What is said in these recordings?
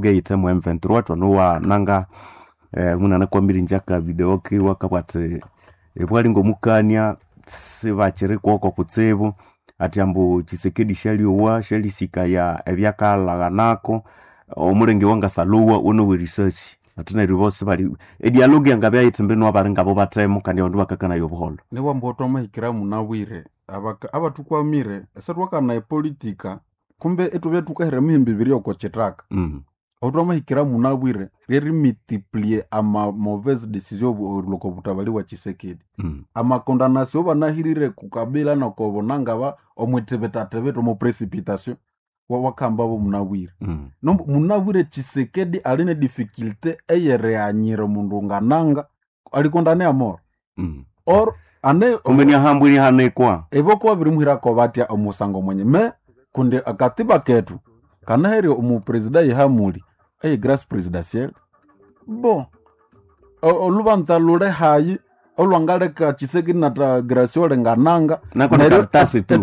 eyithe mu M23 twanowa nanga munana kwamirinja aka video kiwa kabwati ebwali ngomukania sibakiri kwoko kutsibu ati ambu Tshisekedi shaliowa shalisikaya ebyakalaghanako omulenge wangasalowa wonowe research ati neryo bosi bali edialogue yangabya yithe mbinu abali ngabo bathemu kandi abandu bakakanaya obuholho. Niwamba twamahikira munabwire abathukwamire esitwakana epolitika kumbe ithubya thukahira emihimbi ibiri oko kithaka. Aho twamahikira munabwire ryerimultiplie ama mauvaise decision erilwa oko butabali bwa Tshisekedi. Amakondanasyo banahirire ku Kabila noko Bonangaba omwithibitathibita omo precipitation wakahambabo munabwire. Nombu munabwire Tshisekedi ali ne difficulté eyerighanyira omundu ngananga alikondane amoro. Or ane Kumbe niahambwa inihanikwa. Ibo babirimuhirako batya omusango mwenye me kundi akatiba kethu kanaherya omupresida yehamuli eye grace presidentielle bo olubanza lule hayi olwangaleka Tshisekedi na Graciole ngananga. Nako ni Neryo karatasi tu.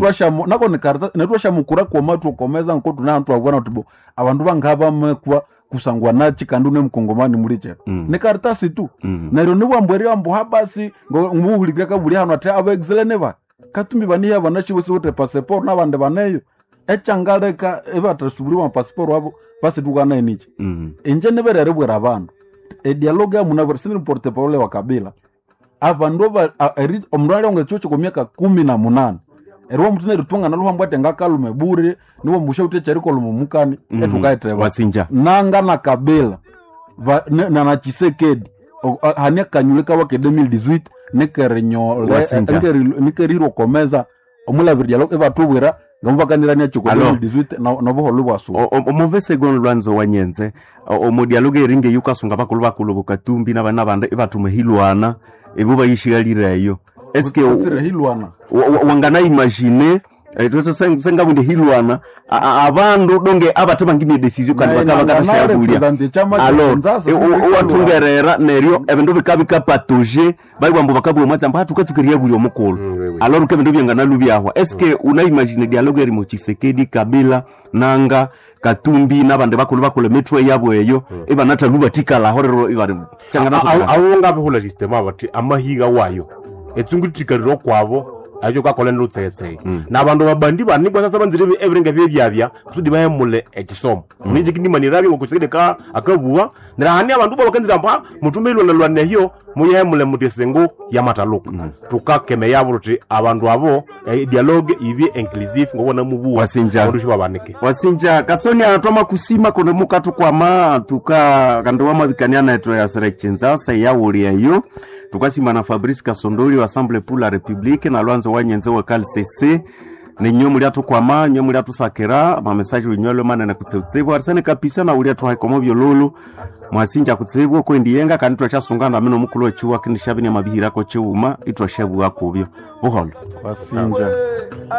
nako ni karatasi netwashamukura kwoma tukomeza nko tunatwabwana tubo abandu bangabamekwa kusangwa nachi kandi une mkongomani muli chetu. Ni karatasi tu. Neryo niwambwerya ambu habasi muhulikira kabuli hano ati abaexilene ba katumbi baniya banashiwe siwete passport nabandi baneyo echangaleka ebatasuburiwa passport wabo basitukana enichi. Inje niberere abandu edialogue yamunabwire sini porte parole wa Kabila abandu omundu alionga echuo kwa miaka 18 eriwa mutu neritunga naluhambwa ati ngakalume bure niwo musha ute cherikoluma mukani. Etukaeteba Wasinja. Nanga na Kabila na Tshisekedi hani akanyule kawa ke 2018 nikerinyole Wasinja. nikerirwa komeza omulabiri dialogue ebatubwira ngamubakanirania chiko Alo. 2018 nobuholo bwasuba. Omuve segon lwanzo wanyenze omudialogue eringa eyukasunga bakulu bakulu bokatumbi nabana bandi ibathuma hilwana ibo bayishigalireyo eske Kutsire hilwana. Wangana imagine sengabundi hilwana abandu donge abathe bangine decision kandi Naye bakaba nangana bakashabulia represent chama cha alors Kinshasa, sindikilwa. wathungerera neryo ebindu bikabikapatuje baiwambu bakabwa mwatsi amba hathukatsukiria buli omukulhu. Oui, oui. Alors ke ebindu byanganalubyahwa eske unaimagine dialogue eri mu Tshisekedi Kabila nanga Katumbi nabandi bakulu bakulu emitwe yabo eyo ibanathalubathikalaho rero ibari Awo ngabihulha system abati amahiga wayo etsunguthikalire okwabo ayo kakola lutsetse nabandu babandi banikwa sasa banzire ebirenga byebyabya kusudi bahemule ekisomo ninje kindimanirabyo ngokusekede ka akabuwa nirahani abandu babakanzira mba mutume ilwana hiyo muyehemule muti esengo yamataluka tukakeme yabo luti abandu abo dialogue ibye inclusive ngobona mubuwa Wasinja. abandu shibabanike. Wasinja kasoni atwama kusima kuno mukatukwama tuka kandi wamabikania nethu ya serechinzasa yawuli eyo tukasima na Fabrice Kasondoli wa Assemblée pour la République na Lwanzo wanyenze wa CALCC ninyo muli atukwama nyo muli atusakira mamesaje winywelo manene kutseutsibwa arisene kapisa na uli atuhaikomo byololo mwasinja kutsibwa kwendiyenga kandi twachasungana mino mukulu wechiwa kindishabini mabihirako chiuma itwashabuwa kubyo buholo. Wasinja.